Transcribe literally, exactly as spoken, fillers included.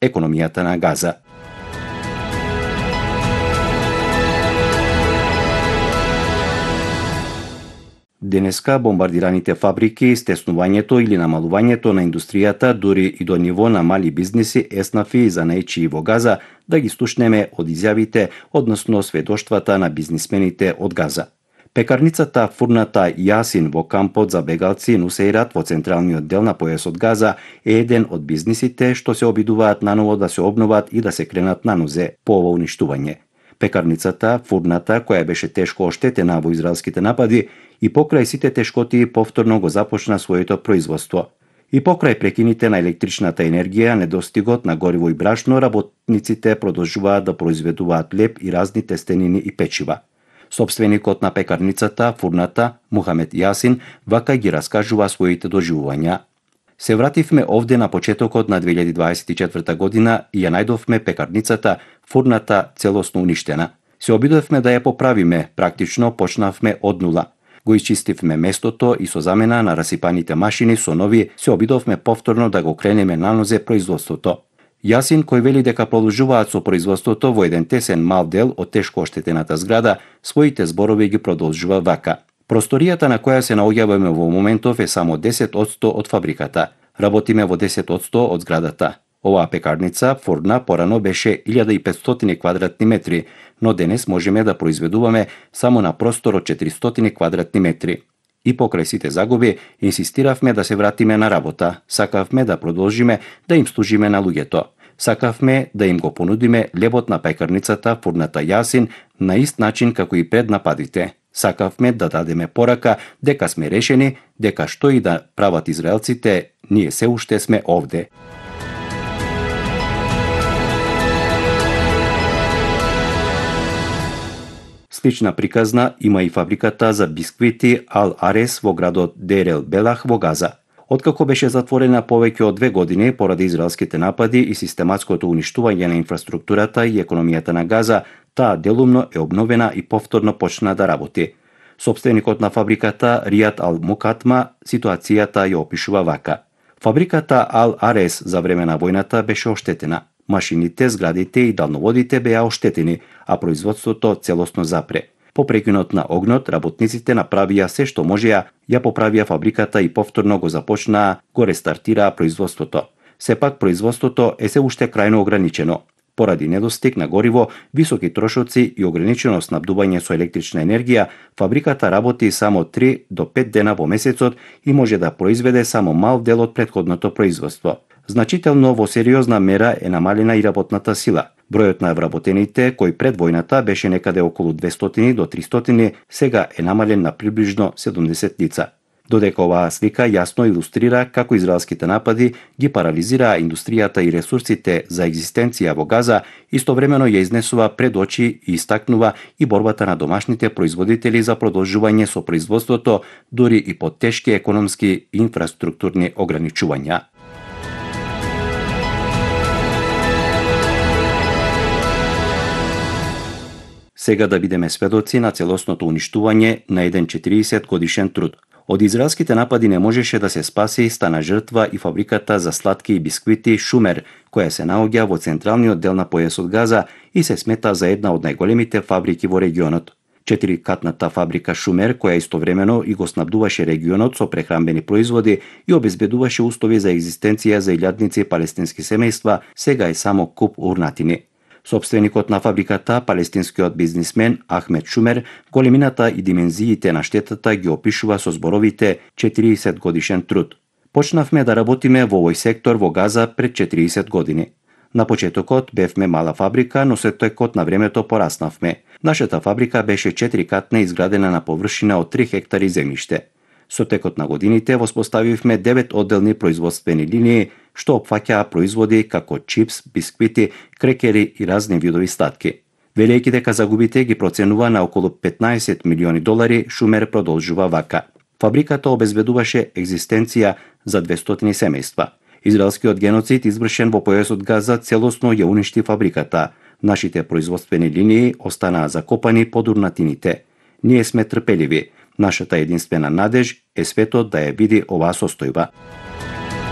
економијата на Газа. Денеска бомбардираните фабрики, стеснувањето или намалувањето на индустријата дури и до ниво на мали бизниси еснафи за најчии во Газа да ги слушнеме од изјавите, односно сведоштвата на бизнисмените од Газа. Пекарницата фурната Јасин во кампот за бегалци Нусејрат во централниот дел на појасот Газа е еден од бизнисите што се обидуваат наново да се обноват и да се кренат на нозе по ово уништување. Пекарницата, фурната, која беше тешко оштетена во израелските напади, и покрај сите тешкоти повторно го започна своето производство. И покрај прекините на електричната енергија, недостигот на гориво и брашно, работниците продолжуваат да произведуваат леп и разни тестенини и печива. Собственикот на пекарницата, фурната, Мухамед Јасин, вака ги раскажува своите доживувања. Се вративме овде на почетокот на две илјади дваесет и четврта година и ја најдовме пекарницата, фурната целосно уништена. Се обидовме да ја поправиме, практично почнавме од нула. Го исчистивме местото и со замена на расипаните машини со нови се обидовме повторно да го кренеме на нозе производството. Јасин, кој вели дека продолжуваат со производството во еден тесен мал дел од тешко оштетената зграда, своите зборови ги продолжува вака. Просторијата на која се наоѓаваме во моментов е само десет одсто од фабриката. Работиме во десет одсто од зградата. Оваа пекарница, фурна, порано беше илјада и петстотини квадратни метри, но денес можеме да произведуваме само на простор од четиристотини квадратни метри. И покрај сите загуби, инсистиравме да се вратиме на работа. Сакавме да продолжиме да им служиме на луѓето. Сакавме да им го понудиме лебот на пекарницата, фурната Јасин, на ист начин како и пред нападите. Сакавме да дадеме порака дека сме решени, дека што и да прават израелците, ние се уште сме овде. Слична приказна има и фабриката за бисквити Ал Арес во градот Дер ел Белах во Газа. Откако беше затворена повеќе од две години поради израелските напади и систематското уништување на инфраструктурата и економијата на Газа, таа делумно е обновена и повторно почна да работи. Собственикот на фабриката Ријат Ал Мукатма ситуацијата ја опишува вака. Фабриката Ал Арес за време на војната беше оштетена. Машините, зградите и далноводите беа оштетени, а производството целосно запре. По прекинот на огнот, работниците направија се што можеа, ја поправија фабриката и повторно го започнаа, го рестартираа производството. Сепак производството е се уште крајно ограничено. Поради недостиг на гориво, високи трошоци и ограничено снабдување со електрична енергија, фабриката работи само три до пет дена во месецот и може да произведе само мал дел од претходното производство. Значително во сериозна мера е намалена и работната сила. Бројот на вработените, кој пред војната беше некаде околу двестотини до тристотини, сега е намален на приближно седумдесет лица. Додека оваа слика јасно илустрира како израелските напади ги парализираа индустријата и ресурсите за екзистенција во Газа, истовремено ја изнесува пред очи и истакнува и борбата на домашните производители за продолжување со производството, дури и под тешки економски и инфраструктурни ограничувања. Сега да бидеме сведоци на целосното уништување на еден четириесет годишен труд. Од израелските напади не можеше да се спаси и стана жртва и фабриката за сладки и бисквити Шумер, која се наоѓа во централниот дел на појасот Газа и се смета за една од најголемите фабрики во регионот. Четирикатната фабрика Шумер, која истовремено и го снабдуваше регионот со прехранбени производи и обезбедуваше устови за екзистенција за илјадници палестински семејства, сега е само куп урнатини. Собственикот на фабриката, палестинскиот бизнисмен Ахмед Шумер, големината и димензиите на штетата ги опишува со зборовите четириесет годишен труд. Почнавме да работиме во овој сектор во Газа пред четириесет години. На почетокот бевме мала фабрика, но со текот на времето пораснавме. Нашата фабрика беше четирикатна, изградена на површина од три хектари земјиште. Со текот на годините воспоставивме девет одделни производствени линии, што опфаќаа производи како чипс, бисквити, крекери и разни видови статки. Велејќи дека загубите ги проценува на околу петнаесет милиони долари, Шумер продолжува вака. Фабриката обезбедуваше екзистенција за двестотини семејства. Израелскиот геноцид извршен во појасот Газа целосно ја уништи фабриката. Нашите производствени линии останаа закопани под урнатините. Ние сме трпеливи. Нашата единствена надеж е светот да ја види оваа состојба.